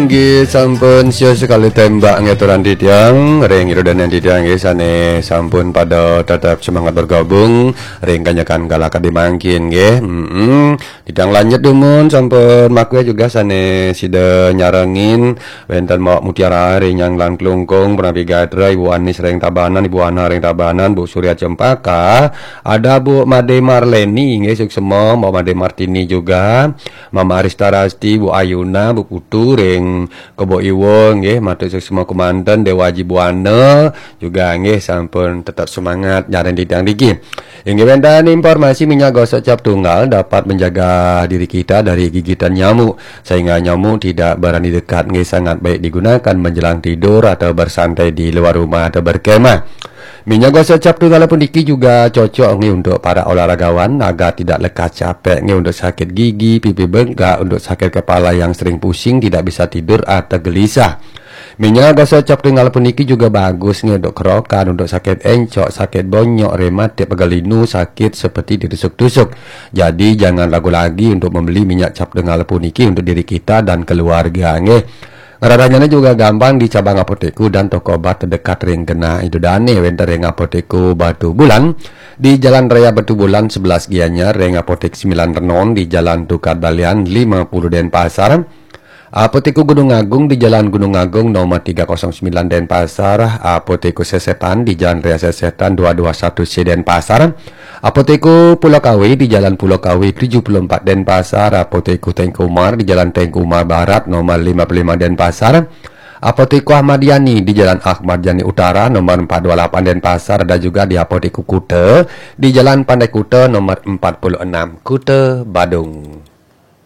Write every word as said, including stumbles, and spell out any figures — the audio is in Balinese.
Nggih, sampun sios sekali tembak ngaturan titiang, ring ida dané titiang nggih sané sampun pada tetap semangat bergabung ring kanyakan kala kadi mangkin nggih. Mm-mm. Titiang lanjut dumun sampun makué juga sané sida nyarengin wénten Mawak Mutiara ring Nyanglan Klungkung, Pranapi Gatra, Ibu Anis ring Tabanan, Ibu Ana ring Tabanan, Bu Surya Cempaka, ada Bu Made Marleni nggih suksema, Mawak Made Martini juga, Mama Arista Rasti, Bu Ayuna, Bu Putu ring Kebo Iwa nggih, matur suksema kemanten Dewa Aji Buana juga nggih sampun tetap semangat nyarengin titiang niki. Inggih wénten informasi minyak gosok cap tunggal dapat menjaga diri kita dari gigitan nyamuk sehingga nyamuk tidak berani dekat nggih, sangat baik digunakan menjelang tidur atau bersantai di luar rumah atau berkemah. Minyak gosok cap tunggal puniki juga cocok nggih untuk para olahragawan agar tidak lekas capek nggih untuk sakit gigi, pipi bengkak, untuk sakit kepala yang sering pusing, tidak bisa tidur atau gelisah. Minyak gosok cap tunggal puniki juga bagus nggih untuk kerokan, untuk sakit encok, sakit bonyok, rematik, pegal linu, sakit seperti ditusuk-tusuk. Jadi jangan ragu lagi untuk membeli minyak cap tunggal puniki untuk diri kita dan keluarga nggih. Ngraranyana juga gampang di cabang apotekku dan toko obat terdekat ring genah ida dané, wénten ring Apotekku Batu Bulan di Jalan Raya Batu Bulan sebelas Gianyar, ring Apotek Sembilan Renon di Jalan Tukad Balian lima puluh Denpasar, Apotekku Gunung Agung di Jalan Gunung Agung nomor tiga kosong sembilan Denpasar, Apotekku Sesetan di Jalan Raya Sesetan dua dua satu C Denpasar, Apotekku Pulau Kawi di Jalan Pulau Kawi tujuh puluh empat Denpasar, Apotekku Tengku Umar di Jalan Tengku Umar Barat nomor lima puluh lima Denpasar, Apotekku Ahmad Yani di Jalan Ahmad Yani Utara nomor empat dua lapan Denpasar, dan juga di Apotekku Kuta di Jalan Pantai Kuta nomor empat puluh enam Kuta Badung.